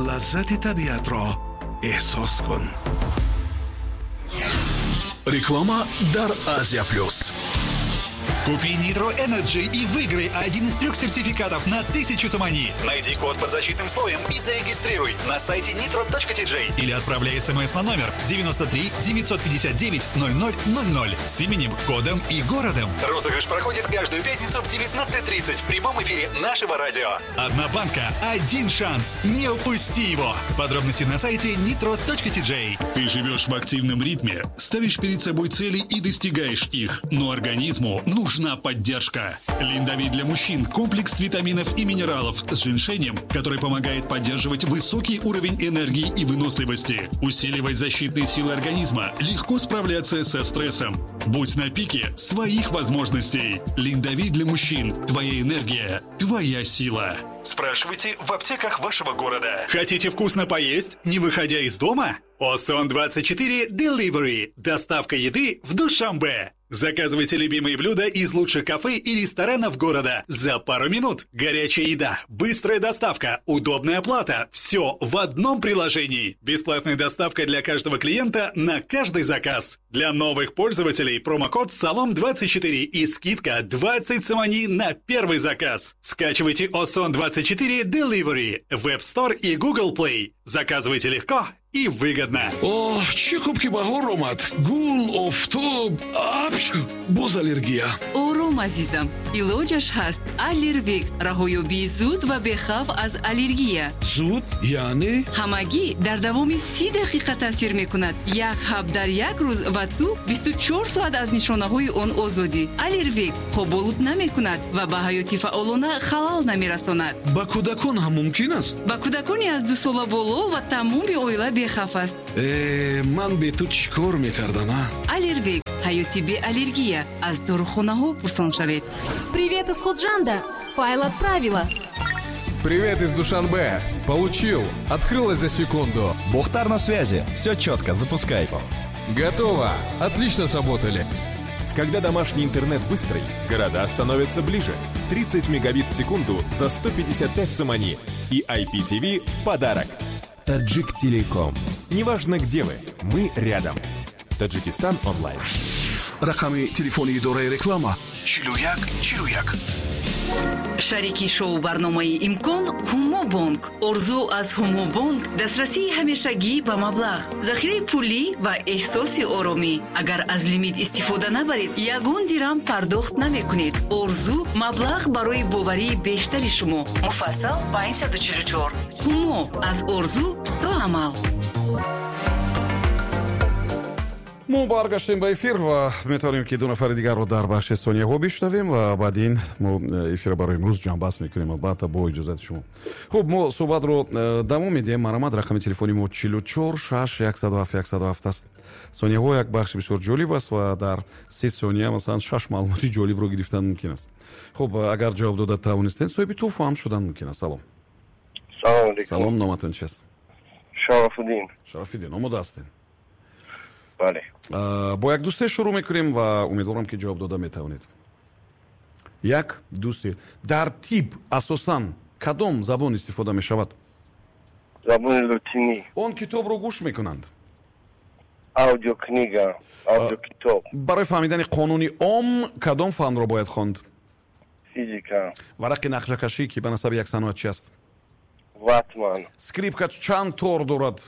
Лаззати табиатро эҳсос кун. Реклама дар Азия Плюс. Купи Nitro Energy и выиграй один из трех сертификатов на 1000 сомони. Найди код под защитным слоем и зарегистрируй на сайте nitro.tj или отправляй смс на номер 93 959 0000 с именем, кодом и городом. Розыгрыш проходит каждую пятницу в 19:30 в прямом эфире нашего радио. Одна банка, один шанс. Не упусти его. Подробности на сайте nitro.tj. Ты живешь в активном ритме, ставишь перед собой цели и достигаешь их, но организму нужна поддержка. Линдовит для мужчин – комплекс витаминов и минералов с женьшенем, который помогает поддерживать высокий уровень энергии и выносливости, усиливать защитные силы организма, легко справляться со стрессом. Будь на пике своих возможностей. Линдовит для мужчин – твоя энергия, твоя сила. Спрашивайте в аптеках вашего города. Хотите вкусно поесть, не выходя из дома? Осон24 Delivery. Доставка еды в Душанбе. Заказывайте любимые блюда из лучших кафе и ресторанов города за пару минут. Горячая еда, быстрая доставка, удобная оплата. Все в одном приложении. Бесплатная доставка для каждого клиента на каждый заказ. Для новых пользователей промокод САЛОМ24 и скидка 20 сомони на первый заказ. Скачивайте Осон24 Delivery в App Store и Google Play. Заказывайте легко и выгодно. Оҳ, чӣ хуб, ки баҳор омад. Гул, офтоб, апч, боз аллергия. Ором, азизам, илоҷаш ҳаст. Аллервик — раҳоёбии зуд ва бехавф аз аллергия. Зуд яъне? Ҳамагӣ дар давоми 30 дақиқа таъсир мекунад. Як ҳаб дар як рӯз, ва ту 24 соат аз нишонаҳои он озодӣ. Аллервик хоболуд намекунад ва ба ҳаёти фаъолона халал намерасонад. Ба кӯдакон ҳам мумкин аст? Ба кӯдакони аз 2 сола боло ва тамоми оила бехавф аст. Э, ман бе ту чӣ кор мекардам, а? Аллервик — ҳаёти беаллергия. Аз дорухонаҳо пурсон шавед. Привет из Худжанда! Файл отправила. Привет из Душанбе. Получил. Открылось за секунду. Бохтар на связи. Все четко, запускай. Готово. Отлично сработали. Когда домашний интернет быстрый, города становятся ближе. 30 мегабит в секунду за 155 сомони. И IPTV в подарок. Таджик Телеком. Неважно, где вы, мы рядом. Таджикистан онлайн. Рақами телефони идораи реклама: 41 41. Шарики шоу барномаи «Имкон» Ҳумобонк. Орзу аз Ҳумобонк: дастрасии ҳамешагӣ ба маблағ, захираи пулӣ ва эҳсоси оромӣ. Агар аз лимит истифода набаред, ягон дирам пардохт намекунед. Орзу: маблағ барои боварии бештари шумо. Муфассал 544. Ҳумо: аз орзу то амал. Мо баргаштем ба эфир ва метавонем, ки ду нафари дигарро дар бахши сонияҳо бишнавем ва баъд ин мо эфира барои имрӯз ҷамъбаст мекунем, албатта, бо иҷозати шумо. Хуб, мо суҳбатро давом медиҳем. Марҳамат, рақами телефони мо 44 6 107 107 аст. Сонияҳо як бахши бисёр ҷолиб аст ва дар 30 сония, масалан, шаш маълумоти ҷолибро гирифтан мумкин аст. Хуб, агар ҷавоб дода тавонистед, соҳиби тӯҳфа ҳам шудан мумкин аст. Салом. Салом алейкум. Салом, номатон чист? Шарафуддин. Шарафиддин, омода ҳастед? Бале. Бо як, ду, се шурӯъ мекунем ва умедворам, ки ҷавоб дода метавонед. Як, ду, се. Дар тиб асосан кадом забон истифода мешавад? Забони лотинӣ. Он китобро гӯш мекунанд? Аудиокнига, аудиокитоб. Барои фаҳмидани қонуни Ом кадом фанро бояд хонд? Физика. Варақи нақшакашӣ, ки ба насаби як саноатчи аст? Ватман. Скрипка чанд тор дорад?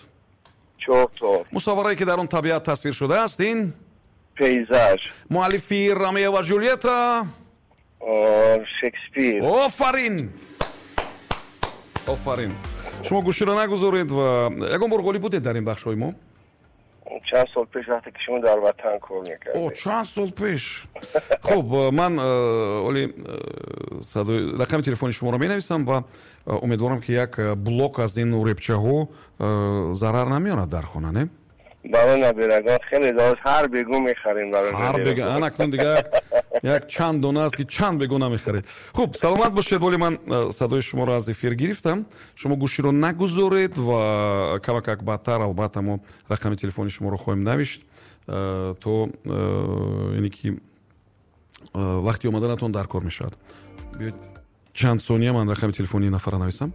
Чор тор. Мусавварае, ки дар он табиат тасвир шудааст, ин? Пейзаж. Муаллифи «Ромео ва Жулетта»? Шекспир. Офарин, офарин! Шумо гӯширо нагузоред. Ва ягон бор ғолиб будед дар ин бахшҳои мо? Чанд сол пеш, вақте ки шумо дар ватан кор мекардед. О, чанд сол пеш. Хуб, ман оли садои рақами телефони шуморо менависам ва умедворам, ки як блок аз ин уребчаҳо зарар намеорад дар хона, не? Барои набирагон хеле дорад, ҳар бегу мехарем барои. Ҳар бега. Ана, акнун дига як чанд дона аст, ки чанд бегу намехаред. Хуб, саломат бошед. Боли ман садои шуморо аз эфир гирифтам. Шумо гӯширо нагузоред ва камакак баъдтар, албатта, мо рақами телефони шуморо хоҳем навишт, то ине ки вақти омаданатон дар кор мешавад. Биёед, чанд сония ман рақами телефонии нафара нависам.